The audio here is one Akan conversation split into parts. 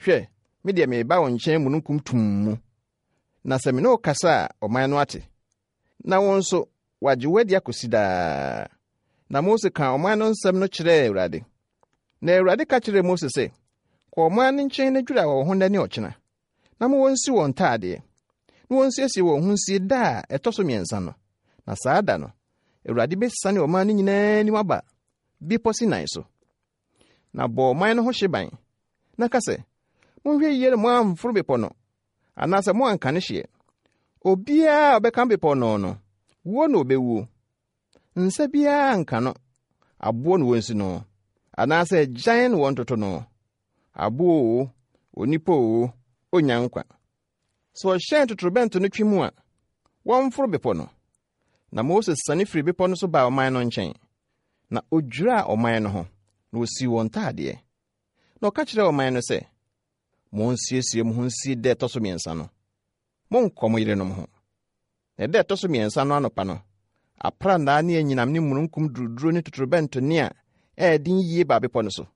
Hwɛ, me deɛ mereba wo nkyɛn mununkum tumm mu, na sɛ me ne wo kasa a, ɔman no ate, na wo nso, wɔagye wo adi akosi daa. Na Mose kaa ɔman no nsɛm no kyerɛɛ Awurade. Na Awurade ka kyerɛɛ Mose sɛ, Kɔ ɔman no nkyɛn na dwira wɔn ho nnɛ ne ɔkyena, na ma wɔnsi wɔn ntaadeɛ, na wɔnsiesie wɔn ho nsie da a ɛtɔ so mmiɛnsa no, na saa da no, Awurade bɛsiane ɔman no nyinaa anim aba Bepɔ Sinai so. Na bɔ ɔman no ho hyeban, na ka sɛ, 'Monhwɛ yiye na moamforo bepɔ no, anaasɛ moanka ne hyeɛ. Obiara a ɔbɛka bepɔ no no, wuo na obewuo. Nsa biara nka no, aboɔ na wɔnsi no, anaasɛ agyan na wɔntoto no. Aboɔ oo, onipa oo, onnya nkwa. Sɛ ɔhyɛn totorobɛnto no twe mu a, wɔmforo bepɔ no. Na Mose siane firii bepɔ no so baa ɔman no nkyɛn, na odwiraa ɔman no ho, na osii wɔn ntaadeɛ. Na ɔka kyerɛɛ ɔman no sɛ, Monsiesie mo ho nsie da ɛtɔ so mmiɛnsa no. Monnkɔ mo yerenom ho. Na da ɛtɔ so mmiɛnsa no anɔpa no, aprannaa ne anyinam ne mununkum duruduro ne totorobɛnto nne a ɛyɛ den yie baa bepɔ no so.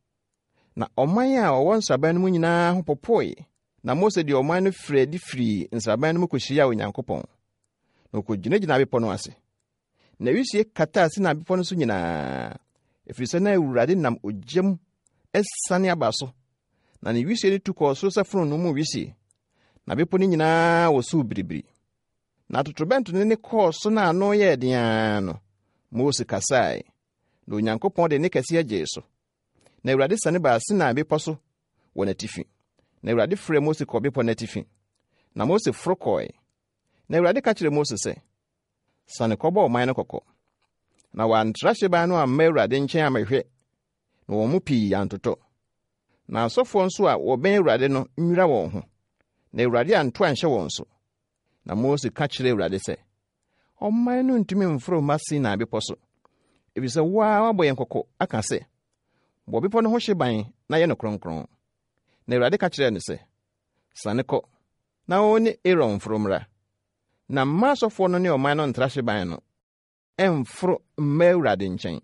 Na ɔman a wɔwɔ nsraban no mu nyinaa ho popoe. Na Mose de ɔman no firii adi firii nsraban no mu kohyiaa Onyankopɔn. Na okogyinagyinaa bepɔ no ase. Na wisie kataa Sinai bepɔ no so nyinaa, ɛfiri sɛ na Awurade nam ogya mu asiane aba so, na ne wisie no tu kɔɔ soro sɛ fononoo mu wisie, na bepɔ no nyinaa wosow biribiri. Na totorobɛnto no nne kɔɔ so na ano yɛɛ den ara no, Mose kasae, na Onyankopɔn de nne kɛseɛ gyee so. Na Awurade siane baa Sinai bepɔ so wɔ n'atifi. Na Awurade frɛɛ Mose kɔɔ bepɔ no atifi. Na Mose foro kɔe. Na Awurade ka kyerɛɛ Mose sɛ, Siane kɔbɔ ɔman no kɔkɔ. Na wɔantra hyeban no amma Awurade nkyɛn ammɛhwɛ, na wɔn mu pii antotɔ. Na asɔfoɔ nso a wɔbɛn Awurade no nnwira wɔn ho, na Awurade anto anhyɛ wɔn so. Na Mose ka kyerɛɛ Awurade sɛ, Ɔman no ntumi mforo mma Sinai bepɔ so, efisɛ wo ara woabɔ yɛn kɔkɔ aka sɛ, 'Bɔ bepɔ no ho hyeban na yɛ no kronkron. Na Awurade ka kyerɛɛ no sɛ, Siane kɔ, na wo ne Aaron mforo mmra. Na mma asɔfoɔ no ne ɔman no ntra hyeban no mmforo mma Awurade nkyɛn,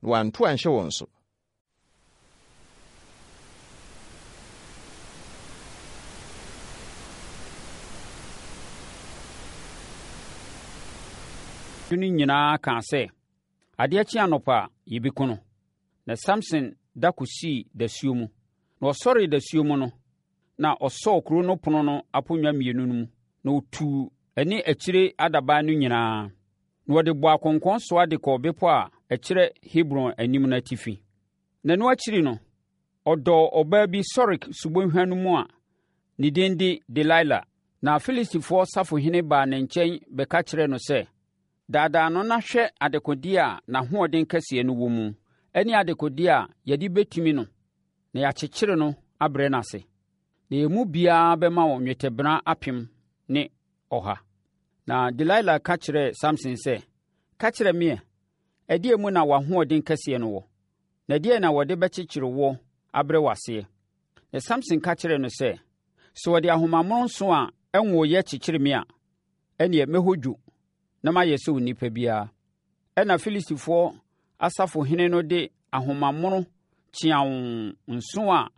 na wanto anhyɛ wɔn so. No nyinaa kaa sɛ, Adeɛ kye anɔpa a, yɛbɛku no. Na Samson da kɔsii dasuo mu. Na ɔsɔree dasuo mu no, na ɔsɔɔ kuro no pono no aponnwa mmienu no mu, na ɔtuu ɛne akyire adaban no nyinaa. Na wɔde bɔɔ akɔnkɔn soa de kɔɔ bepɔ a ɛkyerɛ Hebron anim no atifi. Na ɛno akyiri no, ɔdɔɔ ɔbaa bi Sorek subonhwa no mu a ne din de Delila. Na Filistifoɔ safohene baa ne nkyɛn bɛka kyerɛɛ no sɛ, Daadaa no na hwɛ adekodeɛ a n'ahoɔden kɛseɛ no wɔ mu ne adekodeɛ a yɛde bɛtumi no na yɛakyekyere no abrɛ no ase. Na yɛn mu biara bɛma wo nnwetɛbena 1100. Na Delila ka kyerɛɛ Samson sɛ, Ka kyerɛ me ɛ, ɛdeɛn mu na w'ahoɔden kɛseɛ no wɔ? Na ɛdeɛn na wɔde bɛkyekyere woɔ abrɛ wo aseɛ? Na Samson ka kyerɛɛ no sɛ, Sɛ wɔde ahoma mmorɔnso a ɛnwoeɛ kyekyere me a, ɛnneɛ mɛhɔ dwo na mayɛ sɛ onipa biara. Ɛnna Filistifoɔ asafohene no de ahomamono kyeaw nson a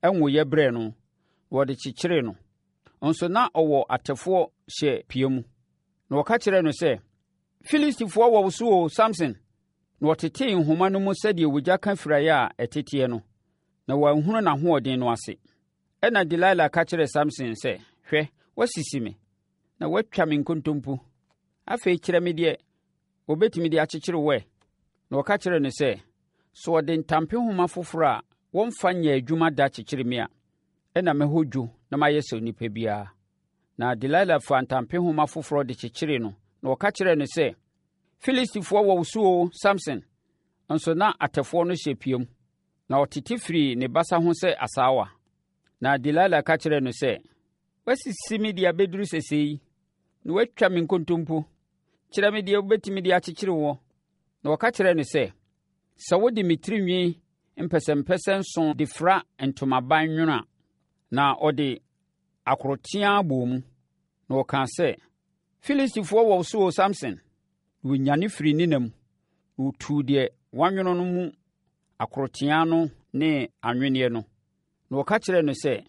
ɛnwoeɛ brɛɛ no, na wɔde kyekyeree no. Nso na ɔwɔ atɛfoɔ hyɛ pia mu. Na wɔka kyerɛɛ no sɛ, Filistifoɔ wɔ wo so o, Samson! Na wɔtetee nhoma no mu sɛdeɛ ogya ka firaeɛ a ɛteteɛ no, na wɔanhunu n'ahoɔden no ase. Ɛnna Delila ka kyerɛɛ Samson sɛ, Hwɛ, woasisi me, na woatwa me nkontompo. Afei kyerɛ me deɛ wɔbɛtumi de akyekyere wo ɛ. Na ɔka kyerɛɛ no sɛ, Sɛ wɔde ntampehoma foforɔ a wɔmfa nyɛɛ adwuma da kyekyere me a, ɛnna mɛhɔ dwo na mayɛ sɛ onipa biara. Na Delila faa ntampehoma foforɔ de kyekyeree no, na ɔka kyerɛɛ no sɛ, Filistifoɔ wɔ wo so o, Samson! Nso na atɛfoɔ no hyɛ piam, na ɔtete firii ne basa ho sɛ asaawa. Na Delila ka kyerɛɛ no sɛ, Woasisi me de abɛduru sɛsɛɛ yi, na woatwa me nkontompo. Kyerɛ me deɛ wobɛtumi de akyekyere woɔ. Na ɔka kyerɛɛ no sɛ, Sɛ wode me tirinwi mpɛsɛmpɛsɛ nson de fira ntomaban nwono a, na ɔde akoroteaa bɔɔ mu, na ɔkaa sɛ, Filistifoɔ wɔ wo so o, Samson! Na ɔnyane firii ne nna mu, na ɔtuu deɛ wanwono no mu akoroteaa no ne anwenneɛ no. Na ɔka kyerɛɛ no sɛ,